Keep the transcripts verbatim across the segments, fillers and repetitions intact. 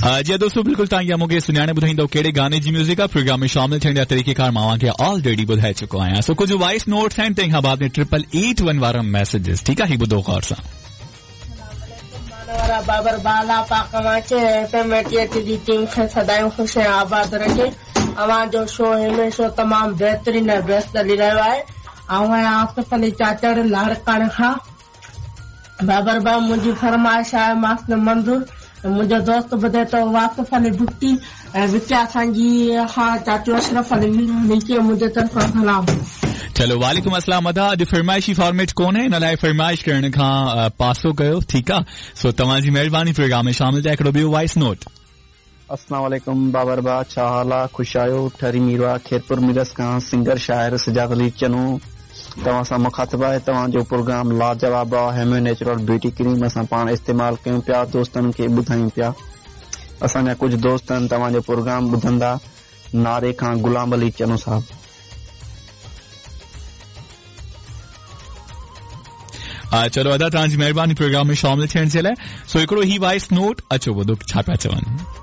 जी दोस्तों, बिल्कुल तव्हां इहा मूंखे सुञाणे ॿुधाईंदव कहिड़े गाने जी म्यूज़िक आहे। प्रोग्राम में शामिल थियण जा तरीक़ेकार मां तव्हांखे ऑलरेडी ॿुधाए चुको आहियां। सो कुझु वॉइस नोट्स आहिनि, तंहिंखां बाद में ट्रिपल एट वन वारा मैसेजेस, ठीकु आहे? ही ॿुधो ग़ौर सां। वारा बाबर बाला पाक अव्हांखे एफ एम एटी जी टीम खे सदाईं ख़ुशि ऐं आबाद रखे। अव्हांजो शो हमेशा तमामु बहितरीन ऐं बेस्ट हली रहियो आहे। आउं आहियां आसिफ अली चाचड़ लाड़काणे खां। बाबर भाउ, मुंहिंजी फरमाइश आहे मास्टर मंज़ूर, मुंहिंजो दोस्त ॿुधे थो वासिफ अली भुट्टी ऐं विकिया सांगी खां चाचू अशरफ अली मीरानी मुंहिंजे तरफ़ां सलाम। चलो वालेकुम अस्सलाम अदा। अॼु फरमाइशी फॉर्मेट कोन्हे, इन लाइ फरमाइश करण खां पासो कयो, ठीकु आहे? सो तव्हांजी महिरबानी प्रोग्राम में शामिल थिया। हिकिड़ो ॿियो वॉइस नोट। अस्सलाम वालेकुम बाबर बा, छा हाल आहे? ख़ुशि आहियो? ठरी मीरवा खेरपुर मिरस खां सिंगर शाइर सजाद अली चनो तव्हां सां मुखातिब आहे। तव्हांजो प्रोग्राम लाजवाब आहे। हेम्यो नेचुरल ब्यूटी क्रीम असां पाण इस्तेमालु कयूं पिया, दोस्तनि खे ॿुधायूं पिया। असांजा कुझु दोस्त आहिनि तव्हांजो प्रोग्राम ॿुधंदा। नारे खां गुलाम अली चनो साहिबु। चलो अदा, तव्हांजी महिरबानी प्रोग्राम में शामिल थियण जे लाइ। सो हिकिड़ो ही वॉइस नोट, अचो ॿुधो छा पिया चवनि।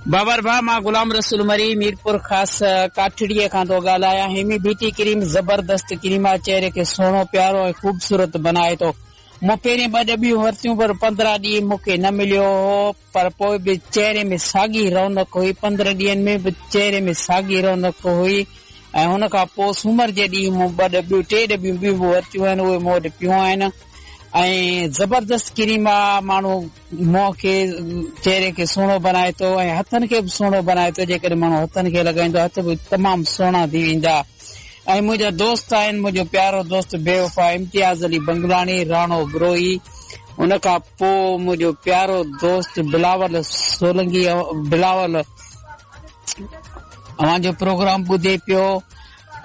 बाबर भाउ, मां गुलाम रसूल मरी मीरपुर ख़ासि काठड़ीअ खां थो ॻाल्हायां। हेमी ब्यूटी क्रीम ज़बरदस्त क्रीम आहे, चेहरे खे सुहिणो प्यारो ऐं ख़ूबसूरत बनाए थो। मूं पहिरीं ॿ डबियूं वरितियूं पर पंद्रहं ॾींहं मूंखे न मिलियो हो, पर पोइ बि चेहरे में साॻी रौनक हुई। पंद्रहं ॾींहंनि में बि चेहरे में साॻी रौनक हुई। ऐं हुन खां पोइ सूमर जे ॾींहुं मूं ॿ डबियूं टे डबियूं ॿियूं बि वरितियूं आहिनि, उहे मूं वटि पियूं आहिनि। ऐं ज़बरदस्त क्रीम आहे, माण्हू मुंहं खे चेहरे खे सुहिणो बनाए थो ऐं हथनि खे बि सुहिणो बनाए थो। जेकॾहिं माण्हू हथनि खे लॻाईंदो हथ बि तमामु सुहिणा थी वेंदा। ऐं मुंहिंजा दोस्त आहिनि, मुंहिंजो प्यारो दोस्त बेवफ़ा इम्तियाज़ अली बंगलाणी, राणो बरोही, उन खां पोइ मुंहिंजो प्यारो दोस्त बिलावल सोलंगी, बिलावल अव्हांजो प्रोग्राम ॿुधे पियो।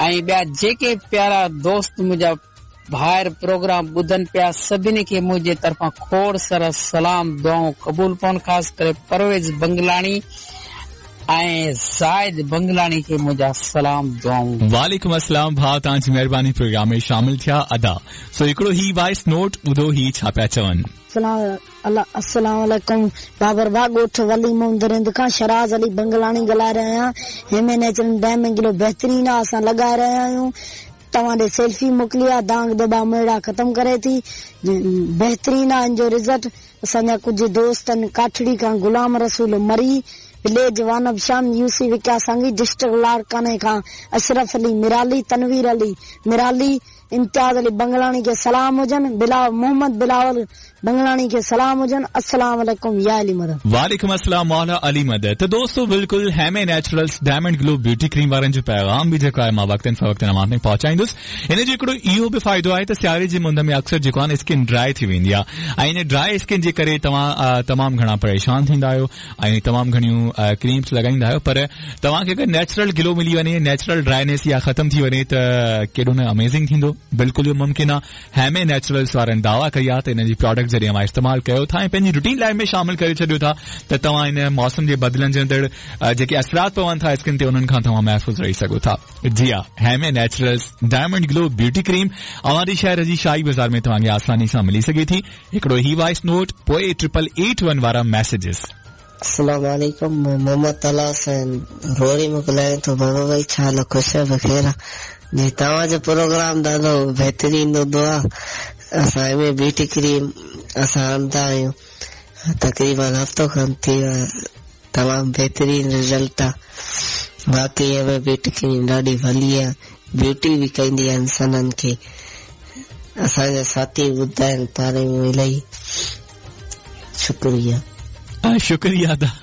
ऐं ॿिया जेके प्यारा दोस्त मुंहिंजा भाइर प्रोग्राम ॿुधनि पिया, सभिनी खे मुंहिंजे तरफ़ां खोड़ सारा सलाम दुआऊं क़बूल पवनि। ख़ासि करे परवेज़ बंगलाणी ऐं ज़ाहिद बंगलाणी खे मुंहिंजा सलाम दुआऊं। वालेकुम अस्सलाम भाउ, तव्हांजी महिरबानी प्रोग्राम में शामिल थिया अदा। सो हिकिड़ो ही वॉइस नोट ॿुधो, ही छा पिया चवनि। अस्सलाम वालेकुम बाबर भाउ, ॻोठ वली मोहम्मद रिंद खां शराज़ अली बंगलाणी ॻाल्हाए रहियो आहियां। हेमे नेचुरल डैम किलो बहितरीन आहे, असां लॻाए रहिया आहियूं। तव्हां ॾे सेल्फी मोकिली आहे, दांग दॿा मेड़ा ख़तमु करे थी, बहितरीन आहे इन जो रिज़ल्ट। असांजा कुझु दोस्त आहिनि काठड़ी खां गुलाम रसूल मरी, विलेज वानब शाम, यूसी विका सांगी, डिस्ट्रिक्ट लाड़काने खां अशरफ अली मिराली, तनवीर अली मिराली, इम्तियाज़ अली बंगलाणी खे सलाम हुजनि, बिलाव मोहम्मद बिलावल बंगलाणी खे सलाम हुजनि। अस्सलाम वालेकुम या अली मदद। वालेकुम अस्सलाम मौला अली मदद। त दोस्तों बिल्कुल हेमे naturals diamond glow beauty cream वारनि जो पैगाम बि जेको आहे मां वक़्तनि फ़वक़्तनि अव्हां ताईं पहुचाईंदुसि। हिन जो हिकिड़ो इहो बि फ़ाइदो आहे त सियारे जी मुंद में अक्सर जेको आहे न स्किन ड्राई थी वेंदी आहे ऐं इन ड्राई स्किन जे करे तव्हां तमामु घणा परेशान थींदा आहियो ऐं तमामु घणियूं क्रीम्स लॻाईंदा आहियो, पर तव्हांखे अगरि नेचुरल ग्लो मिली वञे, नेचुरल ड्राइनेस इहा ख़तमु थी वञे त केॾो न अमेज़िंग थींदो। बिल्कुलु इहो मुमकिन आहे। हेमे नेचुरल्स वारनि दावा कई आहे त हिन जी प्रोडक्ट जॾहिं अव्हां इस्तेमालु कयो था ऐं पंहिंजी रूटीन लाइफ में शामिल करे छॾियो था त तव्हां इन मौसम जे बदिलंदड़ जेके असरात पवनि था स्किन ते उन्हनि खां तव्हां महफ़ूज़ रही सघो था। जी हा, हेमे naturals diamond glow beauty cream अव्हां शहर जी शाही बाज़ार में तव्हांखे आसानी सां मिली सघे थी। हिकिड़ो ही वॉइस नोट, पोइ ट्रिपल एट वन वारा मैसेजेस। अस्सलाम वालेकुम, मोहम्मद तला हुसैन रोड़ी में ॻाल्हायां थो। बाबा भाई छा हाल, ख़ुशि आहियो? बख़ैर जी। तव्हांजो प्रोग्राम ॾाढो बहितरीन हूंदो आहे। असां एम ब्यूटी क्रीम असां हणंदा आहियूं, तक़रीबन हफ़्तो खनि थी वियो आहे, तमामु बहितरीन रिज़ल्ट आहे। बाक़ी एम ब्यूटी क्रीम ॾाढी भली आहे, ब्यूटी बि कंदी आहे इंसाननि खे। असांजा साथी ॿुधाइनि पाण में इलाही। शुक्रिया। शुक्रिया।